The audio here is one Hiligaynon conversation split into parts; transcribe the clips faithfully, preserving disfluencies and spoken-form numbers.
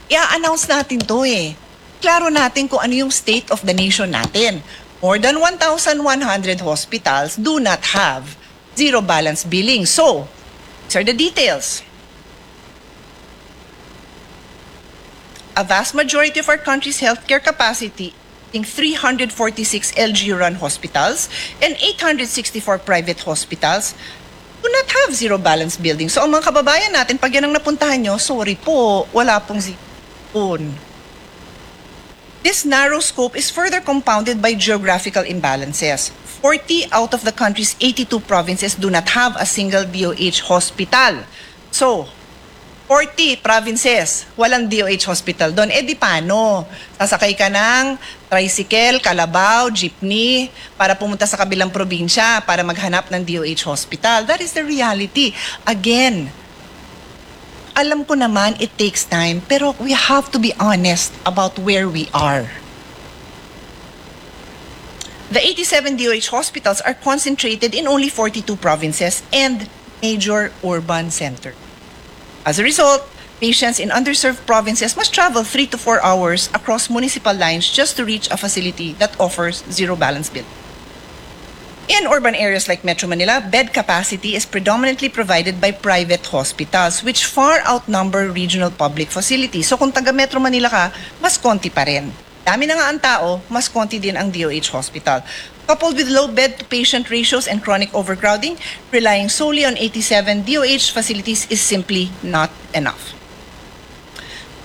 I-announce natin to eh. Klaro natin kung ano yung state of the nation natin. More than one thousand one hundred hospitals do not have zero balance billing. So, these are the details. A vast majority of our country's healthcare capacity, in three hundred forty-six L G U-run hospitals and eight hundred sixty-four private hospitals, do not have zero balance billing. So, ang mga kababayan natin, pag yan ang napuntahan nyo, sorry po, wala pong zero. This narrow scope is further compounded by geographical imbalances. Forty out of the country's eighty-two provinces do not have a single D O H hospital. So, forty provinces, walang D O H hospital doon. Eh, di paano? Sasakay ka ng tricycle, kalabaw, jeepney para pumunta sa kabilang probinsya para maghanap ng D O H hospital. That is the reality. Again, alam ko naman it takes time, pero we have to be honest about where we are. The eighty-seven D O H hospitals are concentrated in only forty-two provinces and major urban center. As a result, patients in underserved provinces must travel three to four hours across municipal lines just to reach a facility that offers zero balance billing. In urban areas like Metro Manila, bed capacity is predominantly provided by private hospitals, which far outnumber regional public facilities. So kung taga Metro Manila ka, mas konti pa rin. Dami na nga ang tao, mas konti din ang D O H hospital. Coupled with low bed-to-patient ratios and chronic overcrowding, relying solely on eighty-seven D O H facilities is simply not enough.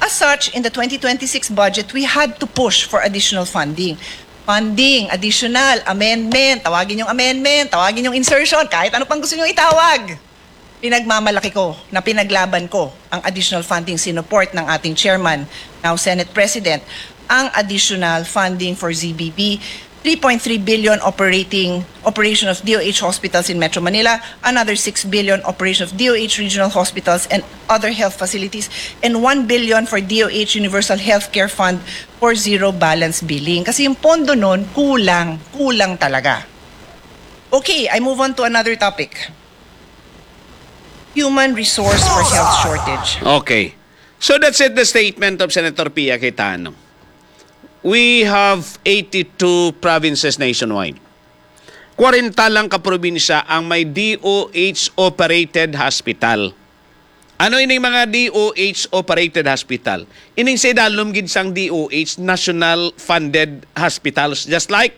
As such, in the twenty twenty-six budget, we had to push for additional funding. Funding, additional, amendment, tawagin yung amendment, tawagin yung insertion, kahit ano pang gusto nyo itawag. Pinagmamalaki ko na pinaglaban ko ang additional funding sinuport ng ating chairman, now Senate President, ang additional funding for Z B B, three point three billion operating operation of D O H hospitals in Metro Manila, another six billion operation of D O H regional hospitals and other health facilities, and one billion for D O H Universal Healthcare Fund for zero balance billing. Kasi yung pondo nun, kulang, kulang talaga. Okay, I move on to another topic. Human resource for health shortage. Okay. So that's it, the statement of Senator Pia Cayetano. We have eighty-two provinces nationwide. Kwarenta lang ka probinsya ang may D O H operated hospital. Ano ining mga D O H operated hospital? Ining sa idalom gid sang D O H, national funded hospitals, just like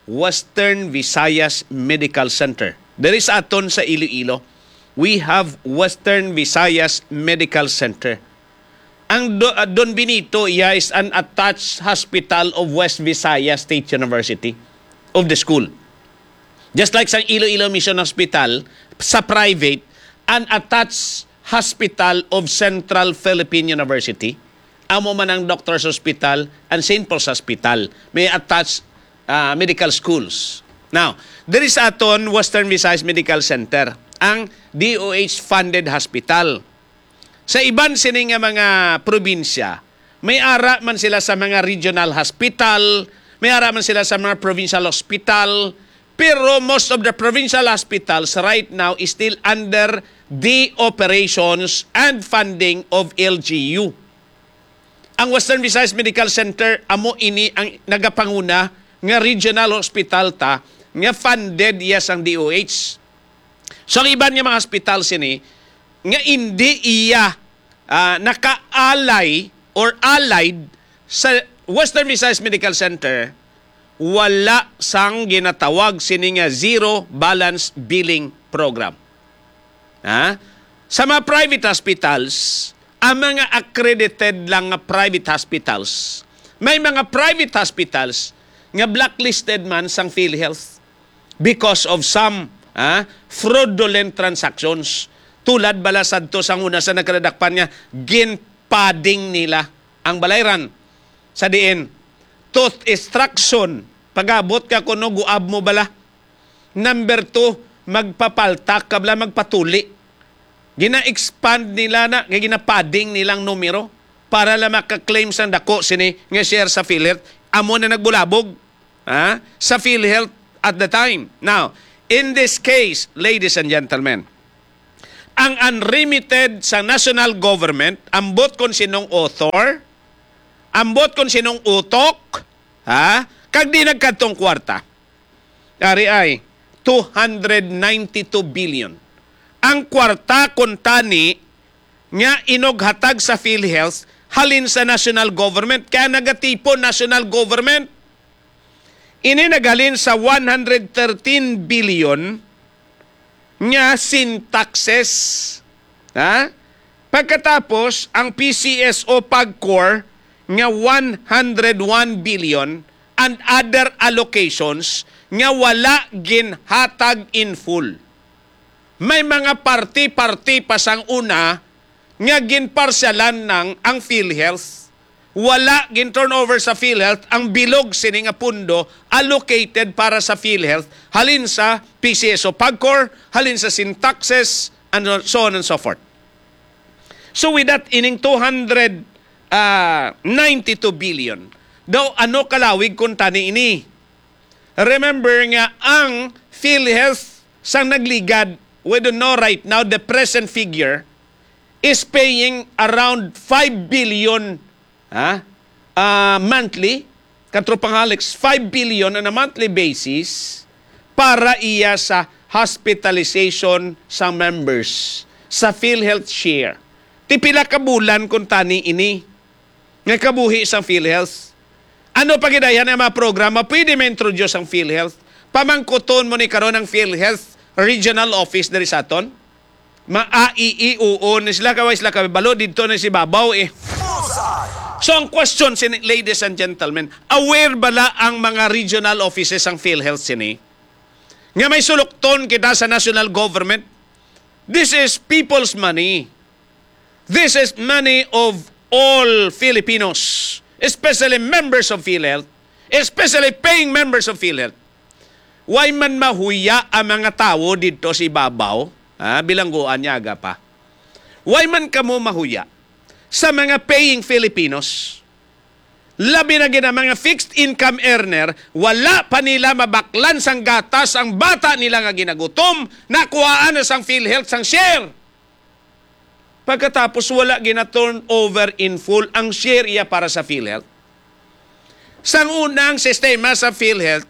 Western Visayas Medical Center. There is aton sa Iloilo. We have Western Visayas Medical Center. Ang Do- uh, Don Benito, iya is an attached hospital of West Visayas State University, of the school. Just like sa Iloilo Mission Hospital, sa private, an attached hospital of Central Philippine University. Amo man ang Doctors Hospital and Saint Paul's Hospital. May attached ah, medical schools. Now, there is aton Western Visayas Medical Center, ang D O H funded hospital. Sa iban sini nga mga probinsya, may ara man sila sa mga regional hospital, may ara man sila sa mga provincial hospital, pero most of the provincial hospitals right now is still under the operations and funding of L G U. Ang Western Visayas Medical Center amo ini ang nagapanguna nga regional hospital ta nga funded iya sang D O H. So ang iban nga mga hospital sini nga indi iya ah, naka-ally or allied sa Western Visayas Medical Center, wala sang ginatawag sini nga zero balance billing program. Ha? Sa mga private hospitals, ang mga accredited lang nga private hospitals, may mga private hospitals nga blacklisted man sang PhilHealth because of some ah, fraudulent transactions. Tulad bala sadto sang una sa nagkadadakpan nga ginpadding nila ang balayran. Sa diin, tooth extraction, pag-abot ka kuno, guab mo bala. Number two, magpapaltak ka bala, magpatuli. Gina-expand nila na, kay ginapadding nilang numero para lang maka-claim sang dako sini nga share sa PhilHealth. Amo na nagbulabog, ha, sa PhilHealth at the time. Now, in this case, ladies and gentlemen, ang unremitted sa national government, ambot kon sinong author, Ambot kung sinong utok, ha? Kag di nagkadtong kwarta. Ari ay, two hundred ninety-two billion. Ang kwarta kuntani nga inughatag sa PhilHealth halin sa national government, kaya nagatipon national government. Ini naghalin sa one hundred thirteen billion nga sin taxes. Ha? Pagkatapos, ang P C S O PAGCOR nga one hundred one billion and other allocations nga wala ginhatag in full. May mga parti-parti pa sang una nga ginparsyalan nang ang PhilHealth. Wala gin-turnover sa PhilHealth ang bilog sini nga pundo allocated para sa PhilHealth, halin sa P C S O PAGCOR, halin sa sin taxes, and so on and so forth. So with that, ining two hundred, ah, ninety-two billion, daw ano kalawig kuntani ini? Remember nga ang PhilHealth sang nagligad, we don't know right now the present figure, is paying around five billion, ha? Ah, monthly, Katropang Alex, five billion on a monthly basis para iya sa hospitalization sa members sa PhilHealth Share. Ti pila ka bulan kuntani ini nga kabuhi sang PhilHealth? Ano pa gid ang mga programa pwede ma-introduce ang PhilHealth? Pamangkuton mo ni karon ang PhilHealth Regional Office diri sa aton? Ma-, a, i, i, oo, ni sila kaway sila kabalo, didto na si babaw eh. So ang question sini, ladies and gentlemen, aware bala ang mga regional offices sang PhilHealth sini? Nga may sulukton kita sa national government? This is people's money. This is money of all Filipinos, especially members of PhilHealth, especially paying members of PhilHealth. Why man mahuya ang mga tawo didto sa ibabaw? Ha? Bilangguan niya aga pa. Why man kamo mahuya sa mga paying Filipinos? Labi na gid ang mga fixed income earner, wala pa nila mabaklan sang gatas ang bata nila nga ginagutom, nakuhaan na sang PhilHealth sang share. Pagkatapos, wala gina-turn over in full ang share iya para sa PhilHealth. Sang unang sistema sa PhilHealth,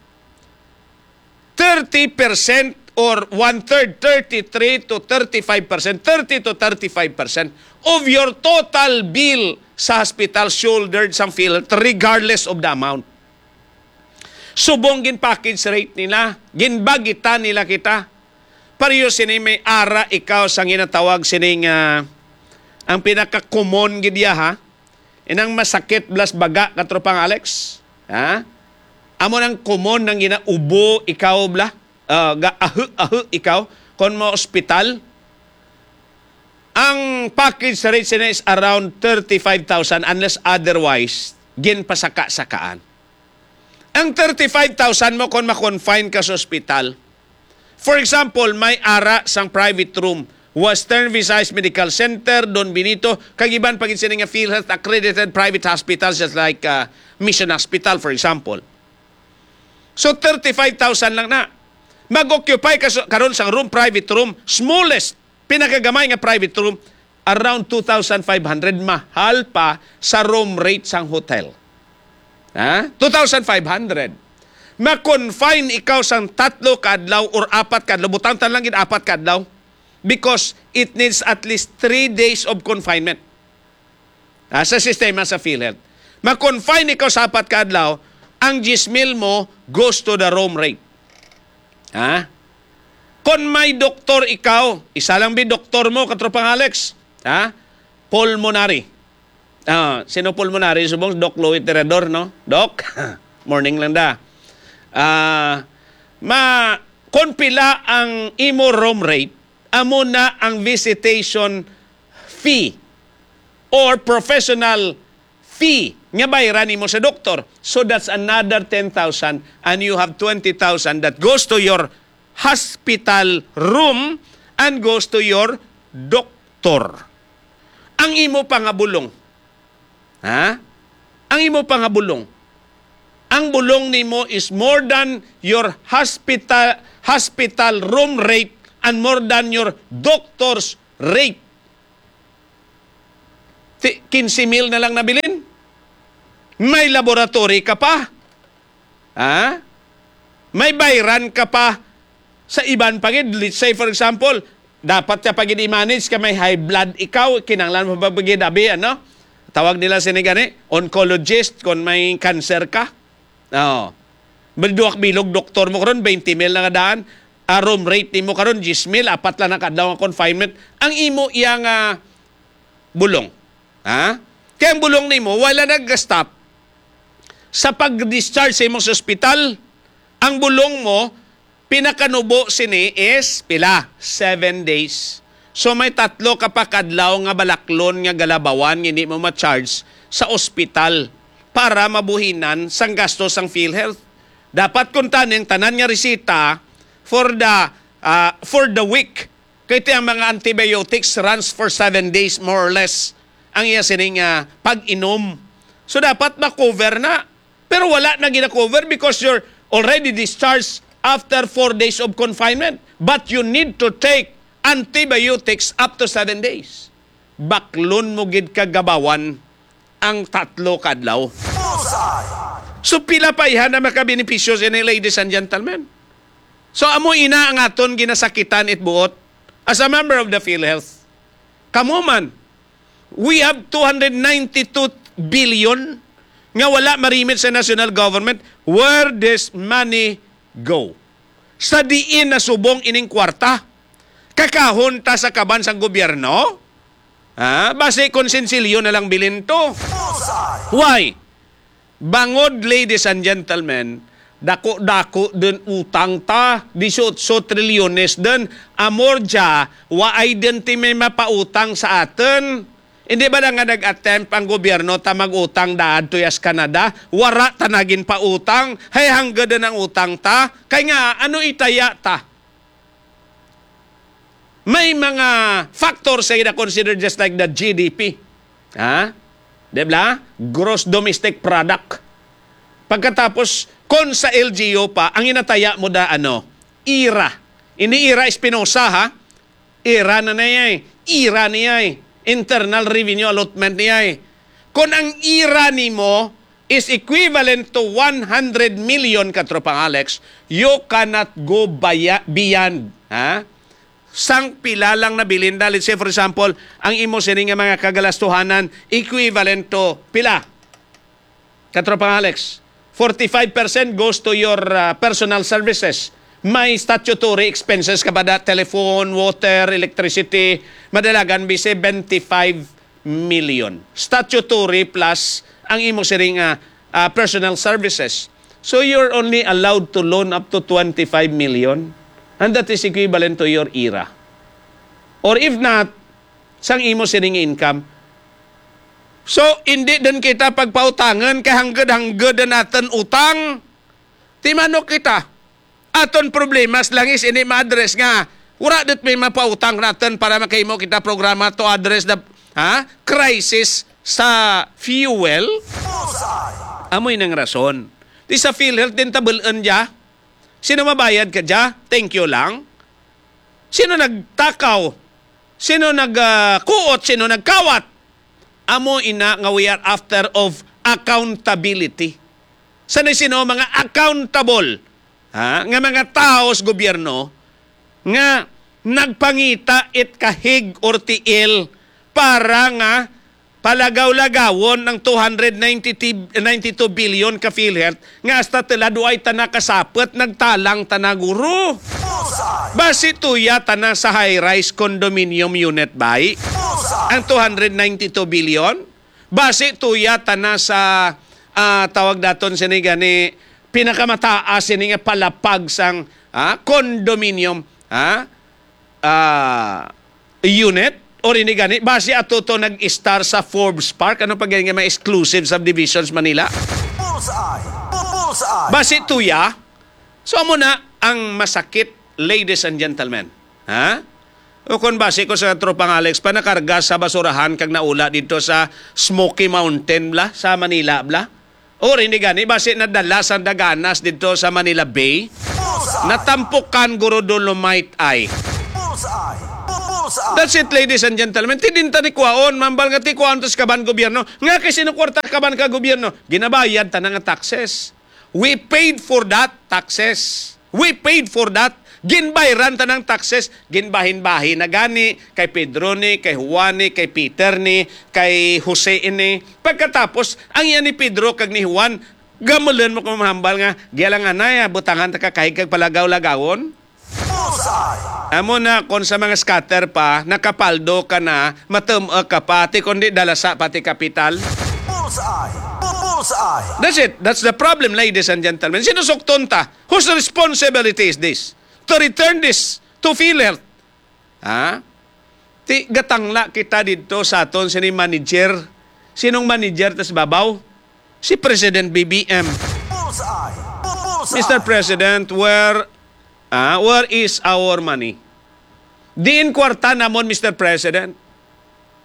thirty percent or one-third, thirty-three to thirty-five percent, thirty to thirty-five percent of your total bill sa hospital shouldered sang PhilHealth regardless of the amount. Subong gin-package rate nila, ginbagitan nila kita. Pareho sini may ara ikaw sang ginatawag sini nga ang pinaka-common gid iya, ha? Inang masakit blas baga, Katropang Alex, ha? Amo nang common nang ginaubo ikaw bla, ah, ga-ahu-ahu ikaw kon mo ospital. Ang package rate sini is around thirty-five thousand unless otherwise ginpasaka-sakaan. Ang thirty-five thousand mo kon ma-confine ka sa ospital. For example, may ara sang private room, Western Visayas Medical Center, Don Benito, kag iban pa gid sini nga PhilHealth accredited private hospitals just like, uh, Mission Hospital, for example. So, thirty-five thousand lang na. Mag-occupy ka sa, karon sang room, private room, smallest, pinakagamay nga private room, around two thousand five hundred, mahal pa sa room rate sang hotel. Ha? Two thousand five hundred. Ma-confine ikaw sang tatlo ka adlaw or apat ka adlaw, butangtan lang gid apat ka adlaw, because it needs at least three days of confinement. Ah, sa sistema sa PhilHealth. Ma-confine ikaw sa apat ka adlaw, ang diyes mil mo goes to the room rate. Ha? Kon may doktor ikaw, isa lang bi doktor mo, Katropang Alex. Ha? Pulmonary. Ah, sino pulmonary? Subong Doc Louie Tirador, no? Doc, morning lang da. Ah, ma, kon pila ang imo room rate, amo na ang visitation fee or professional fee nga bayran nimo sa doktor. So that's another ten thousand, and you have twenty thousand that goes to your hospital room and goes to your doctor. Ang imo pangabulong, ha? Ang imo pangabulong. Ang bulong nimo is more than your hospital, hospital room rate and more than your doctor's rate. Ti-, quince mil na lang nabilin. May laboratory ka pa. Ha? May bayran ka pa sa iban pa gid. Let's say, for example, dapat ka pa gid i-manage ka may high blood ikaw, kinahanglan mo pa gid abi, ano? Tawag nila sini gani, oncologist, kung may cancer ka. Oo. May duwak bilog doktor mo karon, twenty mil na nga daan. Ah, room rate nimo karon, diyes mil, apat lang na ka adlaw nga confinement. Ang imo iya nga bulong. Ha? Kaya ang bulong nimo, wala nag-stop sa pag-discharge sa imong sa ospital. Ang bulong mo, pinakanubo sini is pila? Seven days. So may tatlo ka pa kadlaw nga balaklon nga galabawan nga hindi mo ma-charge sa ospital para mabuhinan sang gasto sang PhilHealth. Dapat kung taning tanan nga resita for the ah, for the week. Kay ti ang mga antibiotics runs for seven days, more or less, ang iya sining ah, pag-inom. So dapat ma-cover na. Pero wala na gina-cover because you're already discharged after four days of confinement. But you need to take antibiotics up to seven days. Baklon mo gid kagabawan ang tatlo ka adlaw. Bullseye! So pila pa iya na makabenepisyo sini, ladies and gentlemen? So amo ina ang aton ginasakitan it buot as a member of the PhilHealth. Kamo man, we have two hundred ninety-two billion nga wala marimit sa national government. Where this money go? Sa diin nasubong ining kwarta? Kakahon ta sa kaban sang gobyerno? Ha? Basi konsensilyo na lang bilin to. Bullseye! Why? Bangod, ladies and gentlemen, dako-dako din utang ta, dieciocho trilyones din. Amor dya, waay din ti may mapautang sa atin. Hindi ba na nga nag-attempt ang gobyerno ta mag-utang daad to yas Canada? Wara ta nagin pautang. Hay hangga din ang utang ta. Kay nga, ano itaya ta? May mga factors sa ina considered just like the G D P. Ha? Di ba? Gross domestic product. Pagkatapos, kung sa L G U pa, ang inataya mo da, ano, ira. Hindi ira Espinosa, ha? Ira na niya eh. Ira niya eh. Internal revenue allotment niya eh. Kung ang ira nimo is equivalent to one hundred million, Katropang Alex, you cannot go baya-, beyond, ha? Sang pila lang nabilin da. Let's say, for example, ang imo sini nga mga kagalastuhanan equivalent to pila? Katropang Alex, forty-five percent goes to your uh, personal services. May statutory expenses ka ba da? Telephone, water, electricity, madalagan bi seventy-five million. Statutory plus ang imo siring nga ah, personal services. So you're only allowed to loan up to twenty-five million, and that is equivalent to your ira. Or if not, sang imo sining income. So, hindi din kita pagpautangan kay hanggad-hanggad na natin utang. Timano kita. Aton problemas lang is ini ma-address nga wala dit may mapautang natin para makahimo kita programa to address the, ha, crisis sa fuel. Amoy nang rason. Di sa PhilHealth din tabul-an dya. Sino mabayad ka dya? Thank you lang. Sino nagtakaw? Sino nagkuot? Sino nagkawat? Amo ina nga we are after of accountability. Sa sino mga accountable, ha, nga mga tawo sa gobyerno nga nagpangita it kahig or tiil para nga palagaw-lagawon ang two hundred ninety, ninety-two billion ka PhilHealth nga hasta tila duay ta nakasapot, nagtalang ta na, guro. Bullseye! Basi tuya ta na sa high-rise condominium unit, bay? Bullseye! Ang two hundred ninety-two billion? Basi tuya ta na sa, ah, tawag daton sini gani, pinakamataas sini nga palapag sang, ah, condominium, ah, ah, unit? Or ini gani, basi ato to nag-star sa Forbes Park? Ano pa gani nga may exclusive subdivisions Manila? Bullseye! Bullseye! Basi tuya? So, amo na ang masakit, ladies and gentlemen. Ha? O kung basi ko sa Tropang Alex pa, nakarga sa basurahan kag naula dito sa Smoky Mountain, bla, sa Manila, bla. Or hindi gani, basi nadala sa Daganas dito sa Manila Bay. Bullseye! Natampukan, guro, dolomite ay. Bullseye! Bu-, That's it, ladies and gentlemen. Ti din ta ni kuwaon, mambal nga ti kuwaon to sa kaban gobyerno. Nga kay sino kwarta kaban ka gobyerno? Ginabayad ta na nga taxes. We paid for that taxes. We paid for that. Ginbayran ta ng taxes. Ginbahin-bahin na gani kay Pedro ni, kay Juan ni, kay Peter ni, kay Jose ini. Pagkatapos, ang iya ni Pedro kag ni Juan, gamulan mo kung mahambal nga, gialanganay, ah, butangan ta ka kahig kag palagaw-lagawon. Bullseye! Amo na, kung sa mga scatter pa, nakapaldo ka na, matum-, uh, ka pa, ti kundi dalasa pati kapital. Bullseye! Bu-, bullseye! That's it. That's the problem, ladies and gentlemen. Sinusukton ta. Whose responsibility is this? To return this to PhilHealth. Ha? Ti, gatangla kita didto sa aton sini manager. Sinong manager tas babaw? Si President B B M. Bullseye! Bu-, bullseye! Mister President, where, ah, where is our money? Diin kwarta namon, Mister President?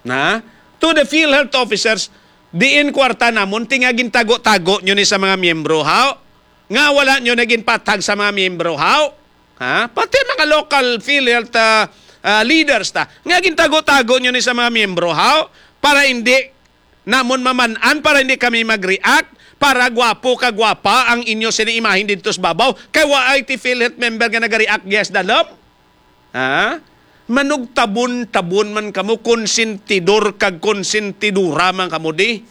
Na? To the PhilHealth officers, diin kwarta namon, ti nga gintago-tago nyo ni sa mga miyembro, ha? Nga wala nyo na ginpatag sa mga miyembro, ha? Ha? Pati mga local PhilHealth, ah, ah, leaders ta, nga gintago-tago nyo ni sa mga miyembro, ha? Para hindi namon maman-an, para hindi kami mag-react, para gwapo ka gwapa ang inyo sini imahin didto sa babaw. Kay wa ay ti PhilHealth member nga nag-react, yes, dalom? Ha? Manugtabon-tabon man kamo, konsentidor kag konsentidora man kamo di.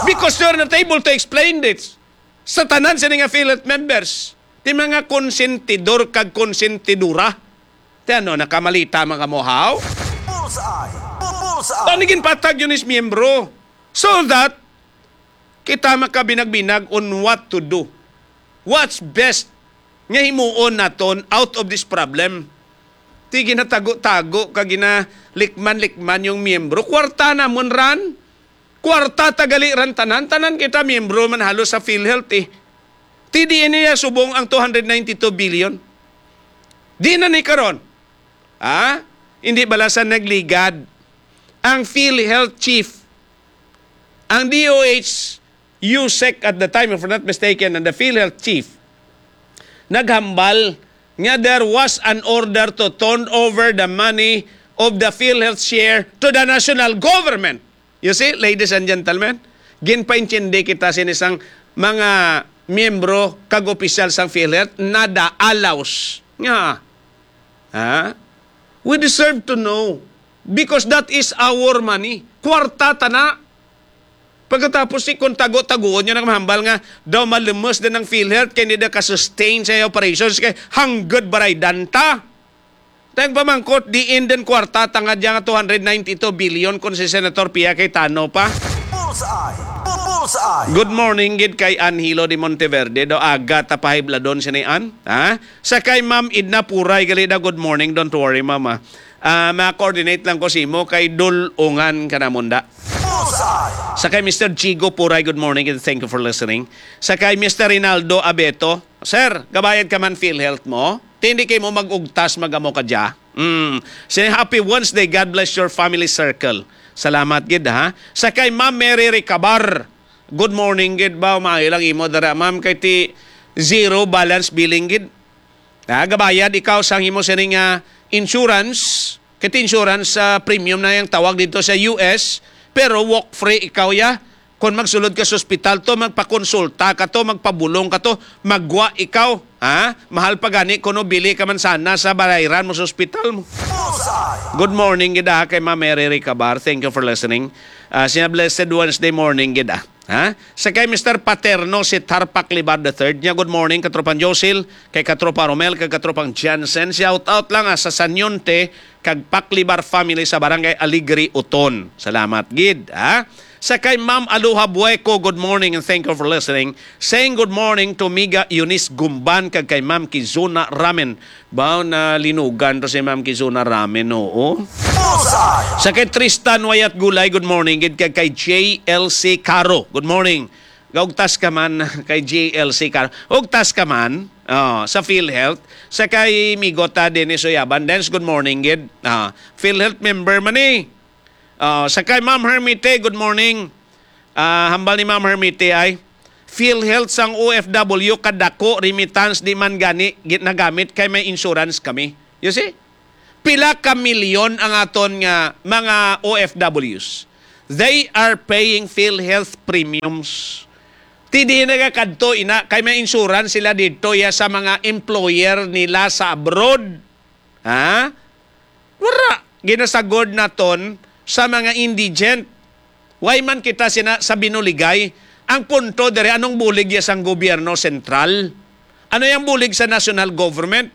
Because you are not able to explain this sa tanan sini nga PhilHealth members. Ti mga konsentidor kag konsentidora. Ti ano, nakamalita man kamo, haw? Bullseye! Bu-, bullseye! Tani ginpatag yun is miyembro. So that kita makabinag-binag on what to do. What's best nga himuon naton out of this problem? Ti ginatago-tago ka, ginalikman-likman yung miyembro. Kwarta namon ran. Kwarta ta gali ran tanan. Tanan kita miyembro man halos sa PhilHealth, eh. Ti diin niya subong ang two hundred ninety-two billion. Di na ni karon. Ha? Hindi bala sa nagligad ang PhilHealth chief, ang D O H, USEC at the time, if I'm not mistaken, and the PhilHealth chief, naghambal nga there was an order to turn over the money of the PhilHealth share to the national government. You see, ladies and gentlemen, ginpaintindi kita sin isang mga miyembro kag opisyal sang PhilHealth, nada alaws nga, ha? We deserve to know because that is our money. Kwarta ta na. Pagkatapos, si kung tago-taguon nyo nang mahambal nga daw malumus din ang PhilHealth kay hindi na ka-sustain sa operations kay hanggang baraydan ta. Tayong pamangkot, diin din kwarta tangad yang two hundred ninety-two billion kung si Senator Pia Cayetano pa. Bullseye! Bu-, bullseye! Good morning gid kay Anhilo de Monteverde. Do aga ta pahibladon sini an, ha? Sa kay Ma'am Edna Puray gali da, good morning. Don't worry, Ma'am, ah. Ah, ma-coordinate lang ko simo kay dul-ungan ka namon da. Bullseye! Sa kay Mister Chigo Puray, good morning and thank you for listening. Sa kay Mister Rinaldo Abeto, sir, gabayad ka man PhilHealth mo? Ti hindi kay mo mag-ugtas, magamo ka dya. Mm. Say happy Wednesday, God bless your family circle. Salamat gid, ha. Sa kay Ma'am Mary Recabar, good morning gid ba? Maayo lang imo dara, ma'am, kay ti zero balance billing gid. Ha, gabayad ikaw sang imo sining, ah, insurance, kay ti insurance, ah, premium na yang tawag dito sa U S, pero walk free ikaw ya. Kon magsulod ka sa ospital to, magpakonsulta ka to, magpabulong ka to, magwa ikaw, ha? Mahal pa gani kuno bili ka man sana sa balayran mo sa ospital mo. Bullseye! Good morning gid, ah, kay Ma'am Mary Recabar. Thank you for listening. Ah, sina blessed Wednesday morning gid, ah. Ha? Sa kay Mister Paterno, si Tarpak Libar the third niya, good morning, Katropang Josil, kay Katropa Romel, kay Katropang Jansen. Shout out lang, ah, sa Sanyonte, kag Paklibar family sa Barangay Alegre, Uton. Salamat gid, ha? Sa kay Ma'am Aloha Bueco, good morning and thank you for listening. Saying good morning to Miga Eunice Gumban kag kay Ma'am Kizuna Ramen. Baw na linugan to si Ma'am Kizuna Ramen, oo. Bullseye! Sa kay Tristan Wayat Gulay, good morning gid kag kay J L C Caro. Good morning. Gaugtas ka man kay J L C Caro. Ugtas ka man. Oh, sa PhilHealth. Sa kay Migota Dennis Uyaban. Dennis, good morning gid. Ah, PhilHealth member man eh. Ah, sa kay Ma'am Hermite, good morning. Ah, hambal ni Ma'am Hermite ay, PhilHealth sang O F W kadako remittance di man gani gi-, nagamit kay may insurance kami. You see? Pila ka milyon ang aton nga mga O F Ws? They are paying PhilHealth premiums. Ti di nagakadto ina kay may insurance sila dito ya sa mga employer nila sa abroad. Ha? Wala. Ginasagod naton sa mga indigent. Why man kita sina sa binuligay? Ang punto dere, anong bulig ya sang gobyerno sentral? Ano yang bulig sa national government?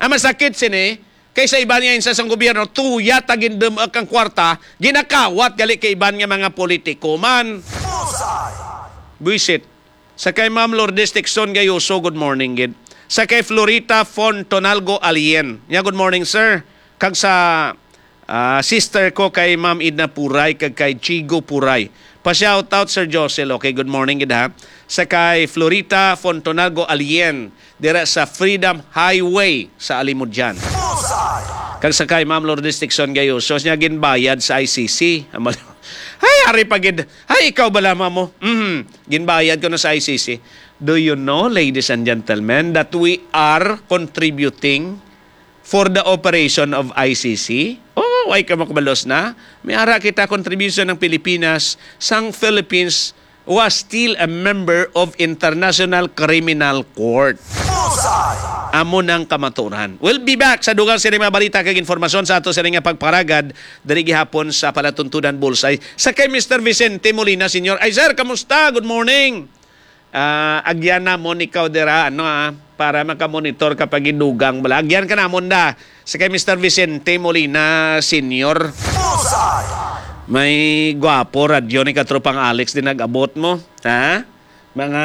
Ang masakit sini, kay sa iban nga insa sang gobyerno, tuya ta gindum-ak ang kwarta, ginakawat gali kay iban nga mga politiko man. Buisit. Sa kay Ma'am Lourdes Tixon Gayoso, good morning gid. Sa kay Florita Fontonalgo Alien, nya, good morning, sir. Kag sa, ah, sister ko kay Ma'am Edna Puray kag kay Chigo Puray. Pa-shoutout, Sir Josel. Okay, good morning gid, ha. Sa kay Florita Fontonalgo Alien, dira sa Freedom Highway sa Alimodian. Kag sa kay Ma'am Lourdes Tixon Gayoso, niya ginbayad sa I C C. Ay, ari pa gid. Ay, ikaw bala, mamo? Mhm. Ginbayad ko na sa I C C. Do you know, ladies and gentlemen, that we are contributing for the operation of I C C? Oh, ay ka makabalos na. May ara kita contribution ng Pilipinas, sang Philippines was still a member of International Criminal Court. Amo nang kamaturan. We'll be back sa dugang sini mga balita kag informasyon sa ato sini nga pagparagad diri gihapon sa Palatuntunan Bullseye. Sa kay Mister Vicente Molina Senior. Ay, sir, kamusta? Good morning. Ah, agyan namon ikaw dira, ano, ah, para makamonitor ka pag idugang bala. Agyan ka namon da. Sa kay Mister Vicente Molina Senior. May gwapo radyo ni Katropang Alex din nag-abot mo, ha? Mga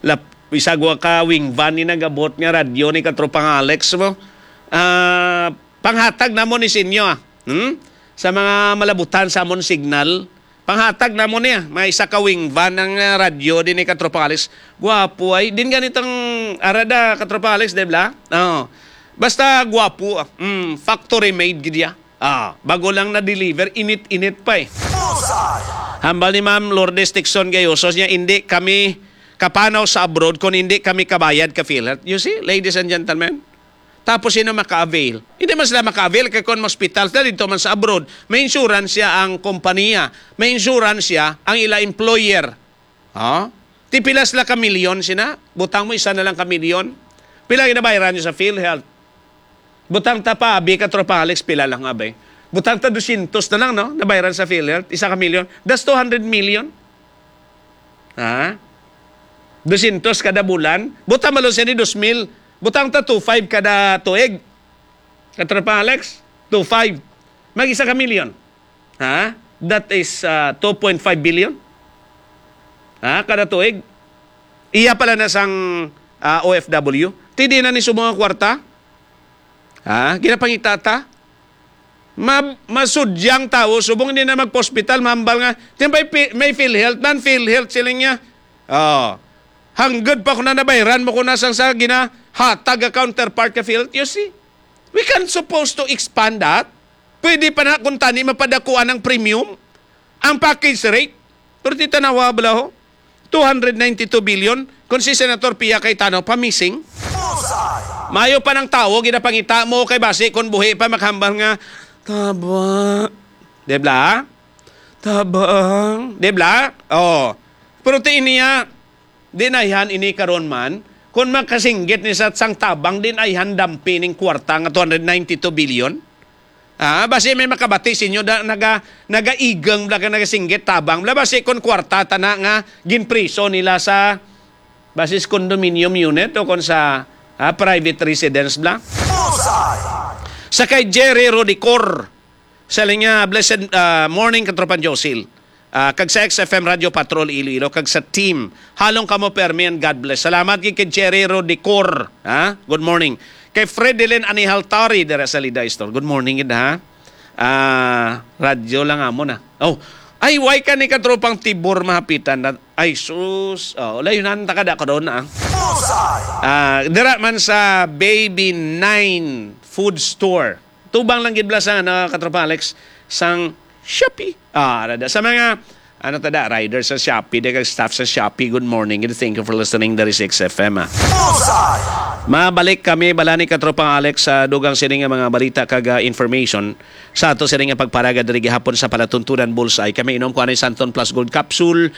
lap, isagwa ka wing van ni nag-abot nga radyo ni Katropang Alex mo. Ah, panghatag namon ni sinyo, ah. Hmm? Sa mga malabutan sa amon signal, panghatag namon niya. May isa ka wing van ang, ah, radyo din ni Katropang Alex. Gwapo ay. Din ganitong arada, Katropang Alex, di ba? Oh. Basta gwapo, ah. Mm, factory made gid ya. Ah, bago lang na-deliver, init-init pa eh. Hambal ni Ma'am Lourdes Tixon Gayoso niya, hindi kami kapanaw sa abroad kung hindi kami kabayad ka PhilHealth. You see, ladies and gentlemen? Tapos sino maka-avail? Hindi man sila maka-avail kay kung hospital na dito man sa abroad, may insurance siya ang kompanya, may insurance siya ang ila employer. Ha? Ti pila sila ka milyon sina? Butang mo isa na lang ka milyon. Pila ginabayaran niyo sa PhilHealth? Butang ta pa, abi ka, Tropa Alex, pila lang, abi? Butang ta dosyentos na lang, no? Nabayaran sa PhilHealth, isa ka milyon. That's two hundred million. Ha? Dosyentos kada bulan. Butang malo siya ni dos mil. Butang ta two five kada tuig. Ka, Tropa Alex, two five. Mag-isa ka milyon. Ha? That is, ah, two point five billion. Ha? Kada tuig. Iya pala na sang, ah, O F W. Ti di na ni subong nga kwarta. Ha? Ginapangita ta. Ma-, masudyang tawo, subong hindi na magpa-hospital, mahambal nga, "Di may pi-, may PhilHealth man, PhilHealth," siling niya. Oh. Hanggod pa ko na nabayran mo ko na sang sa ginahatag nga counterpart ka PhilHealth. You see? We can supposed to expand that. Pwede pa na kung tani mapadakuan ang premium, ang package rate. Pero ti tanawa bala ho, two hundred ninety-two billion, kung si Senator Pia Cayetano pa missing. Mayo pa ng tawo, ginapangita mo kay basi kung buhi pa makahambal nga, "Taba." Di ba? Tabang. Di ba? Oh. Pero ti niya, di na yan ini karon man. Kung makasinggit ni sa sang tabang, di na yan dampi ning kwarta nga two hundred ninety-two billion. Ah, basi may makabati sa inyo da, naga, nagaigang bala ka nagasinggit tabang. Bala basi kung kwarta tana nga ginpriso nila sa basis condominium unit o kung sa, ah, private residence bala. Sa kay Jerry Rodicor, sa linya, blessed, ah, morning, Katropan Josil. Ah, kag sa X F M Radio Patrol Iloilo, kag sa team. Halong kamo, Permi, and God bless. Salamat gid kay Jerry Rodicor. Ha? Good morning. Kay Fredelin Anihaltari dira sa Liday Store. Good morning gid, ha? Ah, radyo lang amo na. Oh, ay, why ka ni Katropang Tibor mahapitan na? Ay, sus. Oh, layunan ta kada karon na. Ah, dira man sa Baby Nine Food Store. Tubang lang gid bala sa, ano, Katropa Alex, sang Shopee. Ah, rada. Sa mga, ano ta da, riders sa Shopee, di kag staff sa Shopee, good morning. Thank you for listening. There is X F M, ah. Mabalik kami bala ni Katropang Alex sa dugang sini nga mga balita kag, ah, information sa ato sini nga pagparaga diri gihapon sa Palatuntunan Bullseye. Kami inom ko anay Santon Plus Gold Capsule,